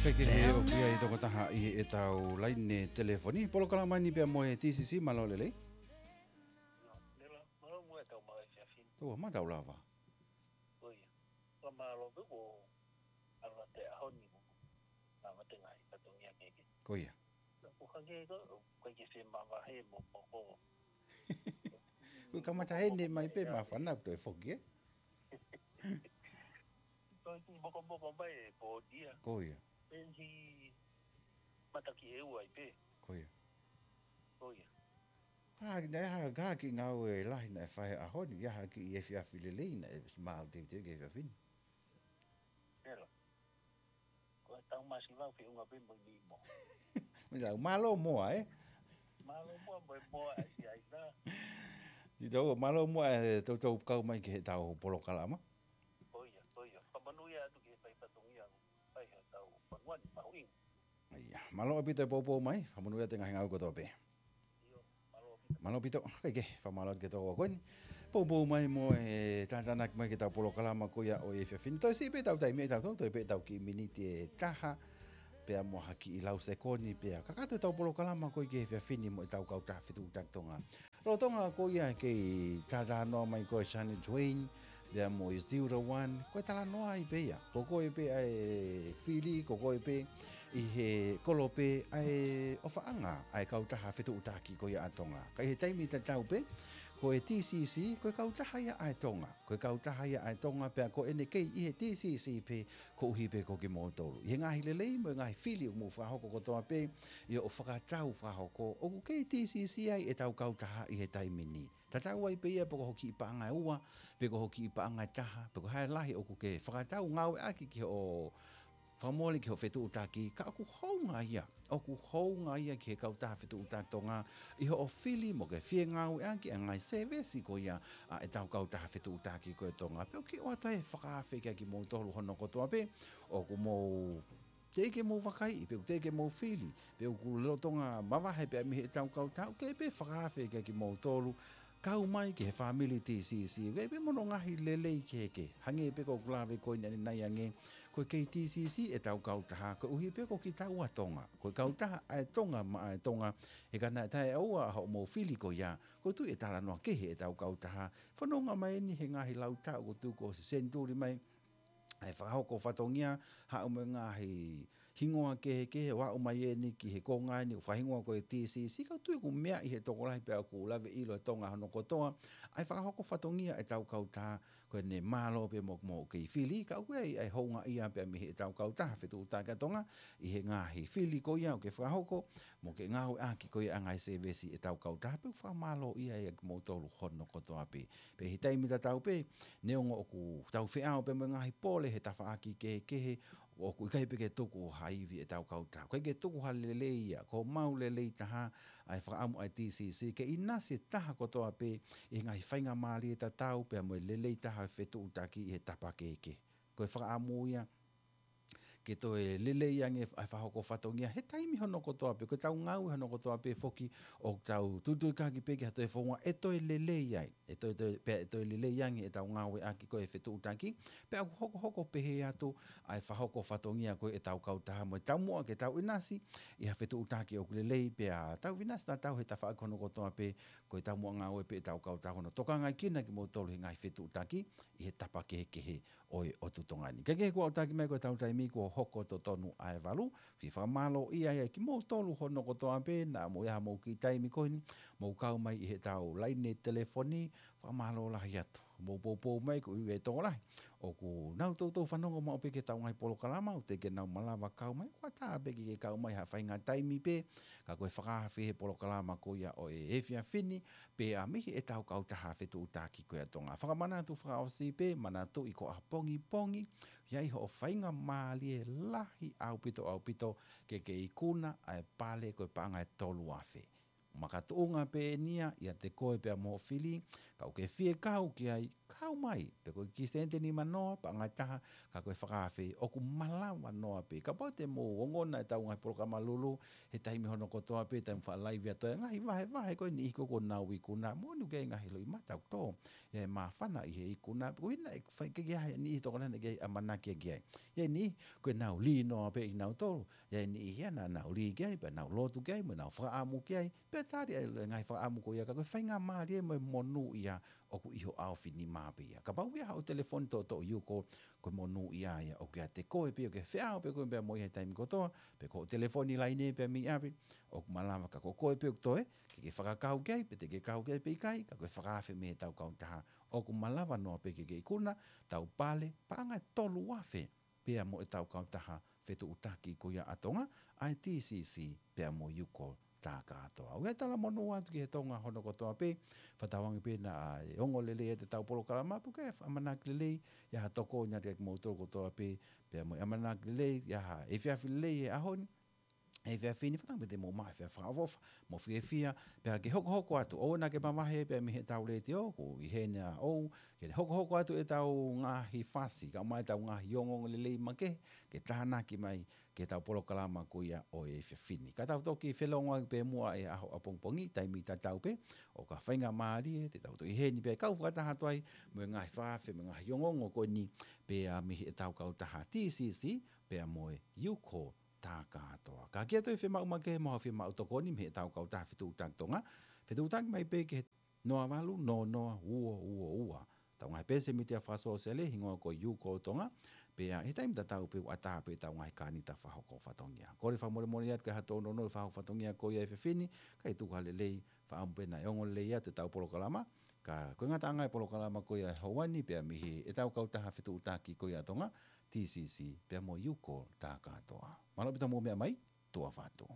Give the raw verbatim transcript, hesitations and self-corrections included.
Kae kehe, ʻoku ʻi ai e tokotaha ʻi heʻetau laine telefoni. Polokalama ni pea mo e T C C, mālō e lelei. Mālō muʻa e tau maʻu e efiafi ni. Tau ma tau lava. Ko ia. Fakamālō pē ko e ʻalu atu e ʻaho ni ko e lava e ngaahi fatongia kehekehe. Ko ia. ʻOku hangē ko e, ʻoku ʻikai ke se mavahe mo moko. Ko e kamata heni mai pē māfana ʻoku toe foki, ē? Ko e kiʻi mokomoko mai e pōdia. Ko ia. Pea ʻi he mataki ʻe ua ai pē. Ko ia. Ko ia. Ka naʻe hā, ka kiʻi ngāue lahi naʻe fai he ʻaho ni, ʻi ai ha kiʻi efiafi lelei naʻe smile teuteu ki he efiafi ni. Pela. Ko e tau masiva ʻoku feʻunga pē mo e nimo. Mālō, mālō muʻa, ē? Mālō muʻa mo e moa ʻa Siaina. Sio, mālō muʻa e toutou kau mai ki heʻetau polokalama. Ko ia, ko ia. Fakamanuia atu ki he fai fatongia, fai he tau fanua ni mahuʻinga. ʻIa, mālō ʻaupito e poupou mai, fakamanuia atu e ngaahi ngāue kotoa pē. Mālō ʻaupito, kae kehe, fakamālō atu ki he tokoua ko eni. Poupou mai mo e tātānaki mai ki heʻetau polokalama ko ia ʻo e efiafi ni. Toe siʻi pē ʻetau taimi ʻe tautolu, toe pē ʻetau kiʻi miniti ʻe taha, pea mo ha kiʻi lau sekoni, pea kakato ʻetau polokalama ko ia ki he efiafi ni mo ʻetau kautaha fetuʻutaki Tonga. Lolotonga ko ia e kei talanoa mai ko ē Shania Twain, pea mo e Zero One, ko e talanoa ai pē ia. Ko koe pē ʻa e fili, ko koe pē ʻi he kolope ʻa e ʻofaʻanga ʻa e kautaha fetuʻutaki ko ia ʻa Tonga. Ka ʻi he taimi tatau pē, ko e T C C, ko e kautaha ia ʻa e Tonga. Ko e kautaha ia ʻa e Tonga, pea ko ʻene kei ʻi he T C C pē, koeʻuhi pē ko kimoutolu. ʻI he ngaahi lelei mo e ngaahi fili ʻoku mou fakahoko kotoa pē, ʻi hoʻo fakatau fakahoko, ʻoku kei T C C ai ʻetau kautaha ʻi he taimi ni. Tatau ai pē ia pe ko ho kiʻi paʻanga ʻe ua, pe ko ho kiʻi paʻanga ʻe taha, pe ko e hā e lahi ʻoku ke fakatau ngāueʻaki ki hoʻo fakamole ki hoʻo fetuʻutaki, ka ʻoku hounga ia, ʻoku hounga ia ki he kautaha fetuʻutaki Tonga, ʻi hoʻo fili mo ke fie ngāueʻaki ʻa e ngaahi sēvesi ko ia ʻa ʻetau kautaha fetuʻutaki ko ē Tonga. Pea ʻoku ke ʻoatu e fakaafe kia kimoutolu hono kotoa pē, ʻoku mou teʻeki ke mou vakaiʻi, pe ʻoku teʻeki ke mou fili, pe ʻoku lolotonga mavahe pē mei heʻetau kautaha, ʻoku kei pē fakaafe kia kimoutolu, kau mai ki he fāmili T C C, ʻoku ʻi ai pē mo hono ngaahi lelei kehekehe, hangē pē ko ʻeku lave ko eni ʻanenai ange, ko e kei T C C ʻetau kautaha, koeʻuhi pē ko kitaua Tonga, ko e kautaha ʻa e Tonga maʻa e Tonga, he ka naʻe taʻeʻaua hoʻomou fili ko ia, ʻoku ou tui ʻe talanoa kehe ʻetau kautaha, fanongo mai eni he ngaahi lau taʻu kuo tuku ʻosi senituli mai, ʻa e fakahoko fatongia, haʻu mo e ngaahi hingoa kehekehe, ʻo aʻu mai eni ki he konga ni, ʻoku fakahingoa ko e T C C, ka ʻoku ou tui ʻoku meaʻi ʻe he tokolahi pea ʻoku lave ʻilo ʻe Tonga hono kotoa, ʻa e fakahoko fatongia ʻetau kautaha, ko ʻene mālō pē mo, mo kei fili, ka ʻoku ʻi ai ʻa e houngaʻia pē mei heʻetau kautaha fetuʻutaki ʻa Tonga, ʻi he ngaahi fili ko ia ʻoku ke fakahoko, mo ke ngāueʻaki ko ia ʻa e ngaahi sēvesi ʻetau kautaha, pea ʻoku fakamālōʻia ai kimoutolu hono kotoa pē. Pea ʻi he taimi tatau pē, neongo ʻoku tau feʻao pē mo e ngaahi pole he tafaʻaki kehekehe, ʻoku ʻikai pē ke tuku ha ivi ʻetau kautaha. ʻIkai ke tuku ha lelei ia, ko homau lelei taha, ʻa e fakaʻamu ʻa e T C C, ke ʻinasi e taha kotoa pē ʻi he ngaahi faingamālie tatau, pea mo e lelei taha ʻo e fetuʻutaki ʻi he tapa kehekehe. Ko e fakaʻamu ia, ke toe lelei ange ʻa e fakahoko fatongia he taimi hono kotoa pē, ko ʻetau ngāue hono kotoa pē foki ʻoku tau tutuikaki pē ki ha toe founga ʻe toe lelei ai, ʻe toe, toe, pea ʻe toe lelei ange ʻetau ngāueʻaki ko e fetuʻutaki, pea ʻoku hokohoko pehē atu ʻa e fakahoko fatongia ko ē ʻetau kautaha mo e taumuʻa ke tau ʻinasi ʻi ha fetuʻutaki ʻoku lelei pea tau ʻinasi tatau he tafaʻaki hono kotoa pē, ko e taumuʻa ngāue pē ʻetau kautaha hono tokangaʻi kinautolu he ngaahi fetuʻutaki ʻi he tapa kehekehe ʻo e ʻotu Tonga ni. Kae kehe, kuo aʻutaki mai ko ʻetau taimi, kuo hoko totonu ʻa e valu. Fie fakamālōʻia ai kimoutolu hono kotoa pē naʻa mou ʻi ai haʻamou kiʻi taimi ko eni, mou kau mai ʻi heʻetau laine telefoni, fakamālō lahi atu. Mou poupou mai, ko e ʻuhi ʻe he tokolahi ʻoku nau toutou fanongo maʻu pē ki heʻetau ngaahi polokalama, ʻoku teʻeki ke nau malava kau mai, ʻoku ʻatā pē ke ke kau mai ha faʻahinga taimi pē, ka ko e fakaafe he polokalama ko ia ʻo e efiafi ni, pea mei heʻetau kautaha fetuʻutaki ko ia ʻa Tonga. Fakamanatu fakaʻosi pē, manatuʻi ko ʻapongipongi, ʻe ʻi ai hoʻo faingamālie lahi ʻaupito, ʻaupito, ke ke ikuna ʻa e pale ko e paʻanga ʻe tolu afe. makatuʻunga pē eni ia ʻiate koe pea mo hoʻo fili, ka ʻoku ke fie kau ki ai, kau mai, pe ko e kiʻi sēniti ʻe nima noa, paʻanga ʻe taha, ka ko e fakaafe, ʻoku malava noa pē. Kapau te mou ongona ʻetau ngaahi polokalama Lulu, he taimi hono kotoa pē, taimi fakalaivi atu, ngaahi vahevahe ko eni ʻoku nau ikuna, moʻoni ʻoku ʻi ai e ngaahi loʻimata ʻoku tō, ʻi ai e māfana ʻi he ikuna, ʻuhinga ʻe fai ke ʻi ai e niʻihi tokolahi naʻe ʻikai ke ʻamanaki ki ai. ʻI ai e niʻihi, ko ʻenau lī noa pē ʻia kinautolu, ʻi ai e niʻihi ia naʻa nau lī ki ai, pea nau lotu ki ai, mo nau fakaʻamu ki ai, pea tali ʻa e ngaahi fakaʻamu ko ia, ka ko e faingamālie mo e monūʻia ʻoku ʻi ho ʻaofinima pē ia. Kapau ʻoku ʻi ai haʻo telefoni toʻotoʻo Yuko, ko e monūʻia ia ʻoku ʻiate koe pē, ʻoku ke feʻao pē koe pea mo ia he taimi kotoa, pe ko hoʻo telefoni laine pē mei ʻapi, ʻoku malava ka ko koe pē ʻoku toe, ke ke fakakau ki ai, pe te ke kau ki ai pe ʻikai, ka ko e fakaafe mei heʻetau kautaha, ʻoku malava noa pē ke ke ikuna, tau pale, paʻanga ʻe tolu afe, pea mo ʻetau kautaha fetuʻutaki ko ia ʻa Tonga, ʻa e T C C, pea mo Yuko Takatoa. ʻOku ou talamonū atu ki he Tonga hono kotoa pē, fakatauange pē naʻe ongo lelei ʻetau polokalama, pea ʻoku ʻamanaki lelei, ʻi ai ha tokoni atu kiate kimoutolu kotoa pē, pea mo e ʻamanaki lelei, ʻi ai ha efiafi lelei he ʻaho ni, efiafi ni, fakatauange pē te mou maʻu e efiafi fakaʻofoʻofa, mo fiefia, pea ke hokohoko atu, ʻoua naʻa ke mavahe pē mei heʻetau letiō, ko e ʻi heni ʻa ʻou, ke hokohoko atu ʻetau ngaahi fasi, kae ʻumaʻā ʻetau ngaahi ongoongo lelei makehe, ke tānaki mai, ki heʻetau polokalama ko ia ʻo e efiafi ni. Ka tau toki felongoaki pē muʻa he ʻaho ʻapongipongi, taimi tatau pē, ʻoka faingamālie, te tau toki ʻi heni pē kau fakataha atu ai, mo e ngaahi fakaafe, mo e ngaahi ongoongo ko eni, pea mei heʻetau kautaha T C C, pea mo e Yuko Takatoa. Ka ke toe fiemaʻu makehe mo ha fiemaʻu tokoni mei heʻetau kautaha fetuʻutaki Tonga, fetuʻutaki mai pē ki he noa valu noa noa ua ua ua. ʻEtau ngaahi peesi mītia fakasōsiale, hingoa ko Yuko Tonga, pea he taimi tatau pē ʻoku ʻatā pē ʻetau ngaahi kānita fakahoko fatongia. Kole fakamolemole atu ki ha tōnounou fakahoko fatongia ko ia he efiafi ni, kae tuku ha lelei, fakaʻamu pē naʻe ongo lelei atu ʻetau polokalama, ka ko e ngataʻanga e polokalama ko ia he houa ni pea mei heʻetau kautaha fetuʻutaki ko ia Tonga, T C C, pea mo Yuko Takatoa. Mālō ʻaupito hoʻomou meʻa mai, tuʻa ʻofa atu.